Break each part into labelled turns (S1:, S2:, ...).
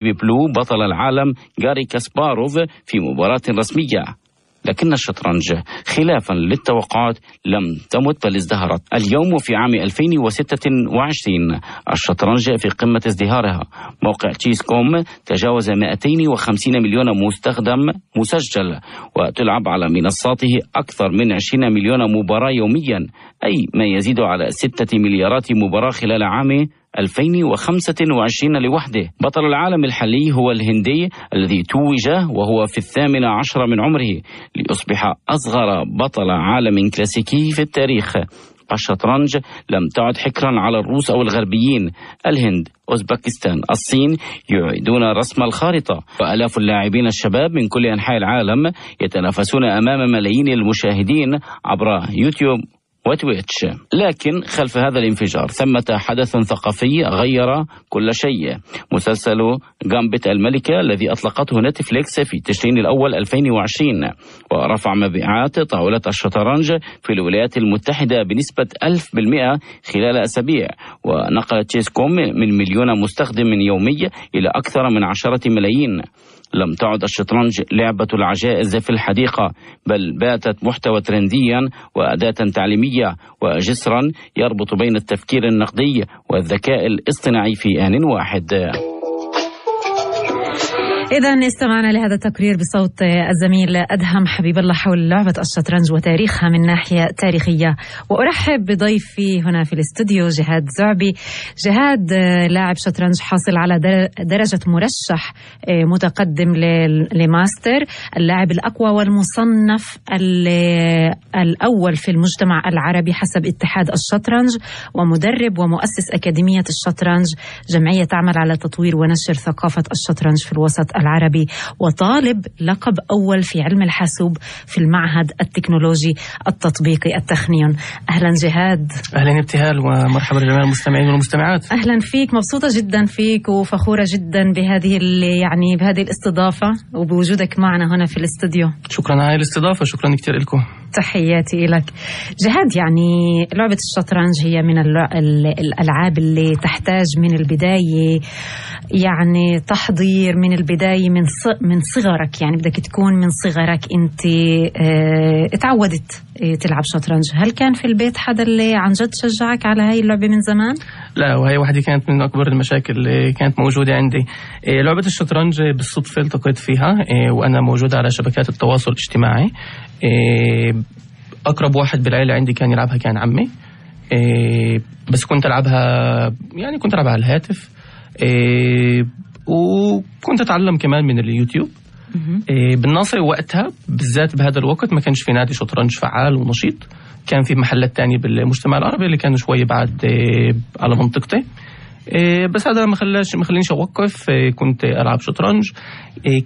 S1: ببلو بطل العالم غاري كاسباروف في مباراة رسمية. لكن الشطرنج خلافا للتوقعات لم تمت بل ازدهرت. اليوم في عام 2026 الشطرنج في قمة ازدهارها. موقع تشيس كوم تجاوز 250 مليون مستخدم مسجل، وتلعب على منصاته أكثر من 20 مليون مباراة يوميا، أي ما يزيد على 6 مليارات مباراة خلال عام 2025 لوحده. بطل العالم الحالي هو الهندي الذي توج وهو في 18 من عمره ليصبح أصغر بطل عالم كلاسيكي في التاريخ. الشطرنج لم تعد حكرا على الروس أو الغربيين. الهند، أوزبكستان، الصين يعيدون رسم الخارطة، وآلاف اللاعبين الشباب من كل أنحاء العالم يتنافسون أمام ملايين المشاهدين عبر يوتيوب وتويتش. لكن خلف هذا الانفجار ثمة حدث ثقافي غير كل شيء. مسلسل جامبت الملكة الذي أطلقته نتفليكس في تشرين الأول 2020 ورفع مبيعات طاولة الشطرنج في الولايات المتحدة بنسبة 1000% خلال أسابيع، ونقلت تشيس كوم من مليون مستخدم يومي إلى أكثر من 10 ملايين. لم تعد الشطرنج لعبة العجائز في الحديقة، بل باتت محتوى ترنديا وأداة تعليمية وجسرا يربط بين التفكير النقدي والذكاء الاصطناعي في آن واحد.
S2: إذن استمعنا لهذا التقرير بصوت الزميل أدهم حبيب الله حول لعبة الشطرنج وتاريخها من ناحية تاريخية. وأرحب بضيفي هنا في الاستوديو جهاد زعبي. جهاد لاعب شطرنج حاصل على درجة مرشح متقدم لماستر، اللاعب الأقوى والمصنف الأول في المجتمع العربي حسب اتحاد الشطرنج، ومدرب ومؤسس أكاديمية الشطرنج، جمعية تعمل على تطوير ونشر ثقافة الشطرنج في الوسط العربي، وطالب لقب أول في علم الحاسوب في المعهد التكنولوجي التطبيقي التخنيون. أهلا جهاد.
S3: أهلا ابتهال، ومرحبا لجميع المستمعين والمستمعات.
S2: أهلا فيك، مبسوطة جدا فيك وفخورة جدا بهذه الاستضافة وبوجودك معنا هنا في الاستوديو.
S3: شكرا على الاستضافة، شكرا كتير لكم.
S2: تحياتي لك جهاد. لعبة الشطرنج هي من الألعاب اللي تحتاج من البداية تحضير من البداية من صغرك، بدك تكون من صغرك أنت اتعودت تلعب شطرنج. هل كان في البيت حدا اللي عن جد شجعك على هاي اللعبة من زمان؟
S3: لا، وهي واحدة كانت من أكبر المشاكل اللي كانت موجودة عندي. لعبة الشطرنج بالصدفة التقيت فيها وأنا موجودة على شبكات التواصل الاجتماعي. أقرب واحد بالعيلة عندي كان يلعبها كان عمي، بس كنت ألعبها كنت ألعبها على الهاتف، وكنت أتعلم كمان من اليوتيوب. بالناصر وقتها بالذات بهذا الوقت ما كانش في نادي شطرنج فعال ونشيط، كان في محلات تانية بالمجتمع العربي اللي كانوا شوي بعد على منطقتي، بس هذا ما خلينيش أوقف. كنت ألعب شطرنج.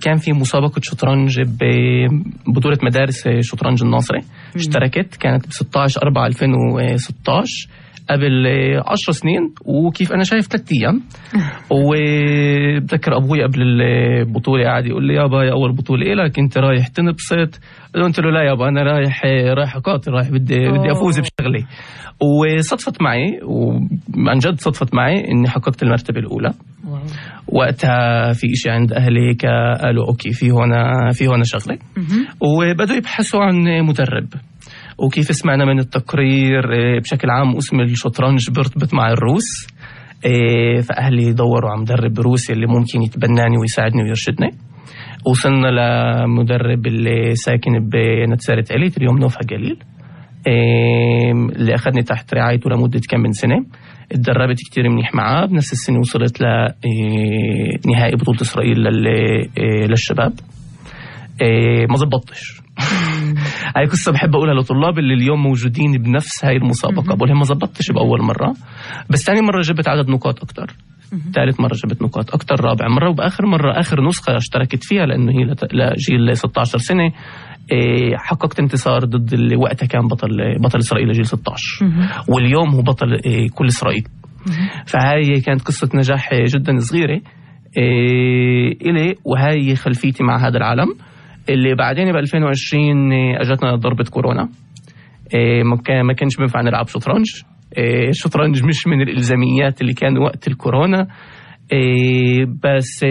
S3: كان في مسابقة شطرنج ببطولة مدارس شطرنج الناصري، اشتركت، كانت ب16/4/2016 قبل 10 سنين، وكيف أنا شايف 3 أيام. وبذكر أبوي قبل البطولة قاعد يقول لي: يابا، يا أول بطولة إلك، أنت رايح تنبسط؟ قلت له: لا يابا، أنا رايح أقاتل، بدي أفوز بشغلي. وصدفت معي، وعن جد صدفت معي إني حققت المرتبة الأولى. وقتها في إشي عند أهلي قالوا: أوكي، في هنا شغلة، وبدوا يبحثوا عن مدرب. وكيف سمعنا من التقرير بشكل عام اسم الشطرنج بيرتبط مع الروس، فأهلي دوروا على مدرب روسي اللي ممكن يتبناني ويساعدني ويرشدني. وصلنا لمدرب اللي ساكن بنتسارة عليت، اليوم نوفها قليل، اللي أخذني تحت رعايته لمدة كم من سنة. اتدربت كتير منيح معاه. بنفس السنة وصلت لنهائي بطولة إسرائيل للشباب. ما زبطتش. هاي قصة بحب أقولها لطلاب اللي اليوم موجودين بنفس هاي المسابقة، بقولهم ما زبطتش بأول مرة، بس ثاني مرة جبت عدد نقاط أكتر، ثالث مرة جبت نقاط أكتر، رابع مرة، وبآخر مرة آخر نسخة اشتركت فيها لأنه هي لجيل 16 سنة حققت انتصار ضد اللي وقتها كان بطل إسرائيل لجيل 16، واليوم هو بطل كل إسرائيل. فهاي كانت قصة نجاح جدا صغيرة إلي، وهاي خلفيتي مع هذا العالم. اللي بعدين ب 2020 اجتنا ضربة كورونا، ما كانش بينفع نلعب شطرنج. الشطرنج مش من الالزاميات اللي كان وقت الكورونا. بس